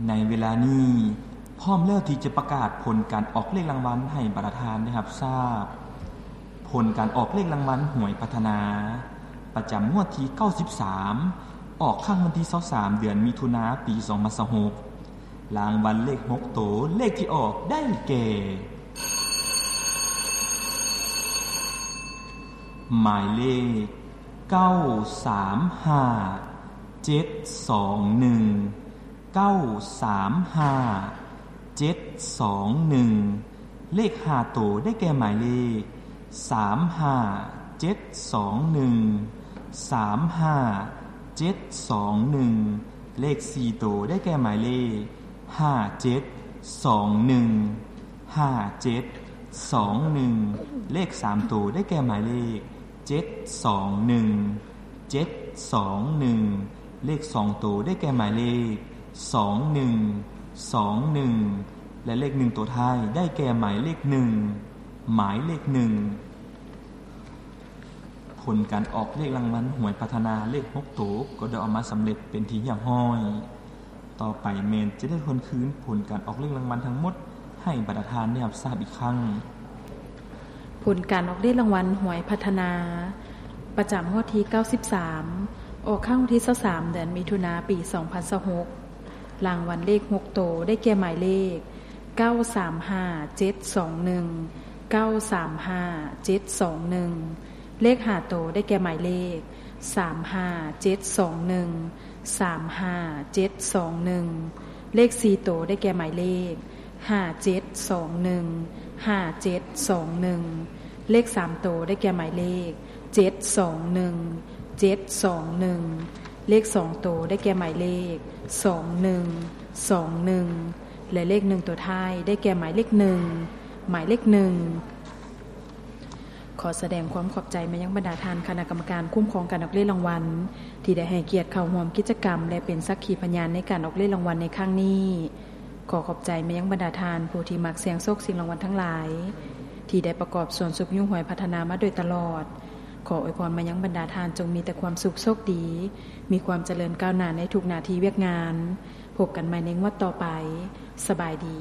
ໃນເວລານີ້ ພ້ອມແລ້ວທີ່ຈະປະກາດຜົນການອອກເລກລາງວັນໃຫ້ບັນດາທ່ານໄດ້ຮັບຊາບ. ຜົນການອອກເລກລາງວັນຫວຍພັດທະນາ ປະຈຳງວດທີເກົ້າສິບສາມ ອອກຄັ້ງວັນທີຊາວສາມ ເດືອນມິຖຸນາ ປີສອງພັນຊາວຫົກ. ລາງວັນເລກຫົກໂຕ ເລກທີ່ອອກໄດ້ແກ່ ໝາຍເລກ ເກົ້າສາມຫ້າ ເຈັດສອງໜຶ່ງ ເກົ້າສາມຫ້າ ເຈັດສອງໜຶ່ງ. ເລກຫ້າໂຕໄດ້ແກ່ໝາຍເລກ ສາມຫ້າເຈັດສອງໜຶ່ງ ສາມຫ້າເຈັດສອງໜຶ່ງ. ເລກສີ່ໂຕໄດ້ແກ່ໝາຍເລກ ຫ້າເຈັດສອງໜຶ່ງ ຫ້າເຈັດສອງໜຶ່ງ. ເລກສາມໂຕໄດ້ແກ່ໝາຍເລກ ເຈັດສອງໜຶ່ງ ເຈັດສອງໜຶ່ງ. ເລກສອງໂຕໄດ້ແກ່ໝາຍເລກ ສອງໜຶ່ງສອງໜຶ່ງ ແລະ ເລກໜຶ່ງໂຕທ້າຍໄດ້ແກ່ໝາຍເລກໜຶ່ງ ໝາຍເລກໜຶ່ງ. ຜົນການອອກເລກລາງວັນຫວຍພັດທະນາເລກຫົກໂຕກໍໄດ້ອອກມາສຳເລັດເປັນທີ່ຮຽບຮ້ອຍ. ຕໍ່ໄປແມ່ນຈະໄດ້ທວນຄືນຜົນການອອກເລກລາງວັນທັງໝົດໃຫ້ບັນດາທ່ານໄດ້ຮັບຊາບອີກຄັ້ງ. ຜົນການອອກເລກລາງວັນຫວຍພັດທະນາ ປະຈຳງວດທີເກົ້າສິບສາມ ອອກຄັ້ງວັນທີຊາວສາມ ເດືອນມິຖຸນາ ປີສອງພັນຊາວຫົກ. ລາງວັນເລກຫົກໂຕໄດ້ແກ່ໝາຍເລກ ເກົ້າສາມຫ້າເຈັດສອງໜຶ່ງ ເກົ້າສາມຫ້າເຈັດສອງໜຶ່ງ. ເລກຫ້າໂຕໄດ້ແກ່ໝາຍເລກ ສາມຫ້າເຈັດສອງໜຶ່ງ ສາມຫ້າເຈັດສອງໜຶ່ງ. ເລກສີ່ໂຕໄດ້ແກ່ໝາຍເລກ ຫ້າເຈັດສອງໜຶ່ງ ຫ້າເຈັດສອງໜຶ່ງ. ເລກສາມໂຕໄດ້ແກ່ໝາຍເລກ ເຈັດສອງໜຶ່ງ ເຈັດສອງໜຶ່ງ. ເລກສອງໂຕໄດ້ແກ່ໝາຍເລກ ສອງໜຶ່ງສອງໜຶ່ງ ແລະ ເລກໜຶ່ງໂຕທ້າຍໄດ້ແກ່ໝາຍເລກໜຶ່ງ ໝາຍເລກໜຶ່ງ. ຂໍສະແດງຄວາມຂອບໃຈມາຍັງບັນດາທ່ານຄະນະກຳມະການຄຸ້ມຄອງການອອກເລກລາງວັນ ທີ່ໄດ້ໃຫ້ກຽດເຂົ້າຮ່ວມກິດຈະກຳ ແລະ ເປັນສັກຂີພະຍານໃນການອອກເລກລາງວັນໃນຄັ້ງນີ້. ຂໍຂອບໃຈມາຍັງບັນດາທ່ານຜູ້ທີ່ມັກສ່ຽງໂຊກສ່ຽງລາງວັນທັງຫຼາຍ ທີ່ໄດ້ປະກອບສ່ວນຊຸກຍູ້ຫວຍພັດທະນາມາໂດຍຕະຫຼອດ. ຂໍອວຍພອນມາຍັງບັນດາທ່ານຈົ່ງມີແຕ່ຄວາມສຸກໂຊກດີ, ມີຄວາມຈະເລີນກ້າວໜ້າໃນທຸກໜ້າທີ່ວຽກງານ. ພົບກັນໃໝ່ໃນງວດຕໍ່ໄປ. ສະບາຍດີ.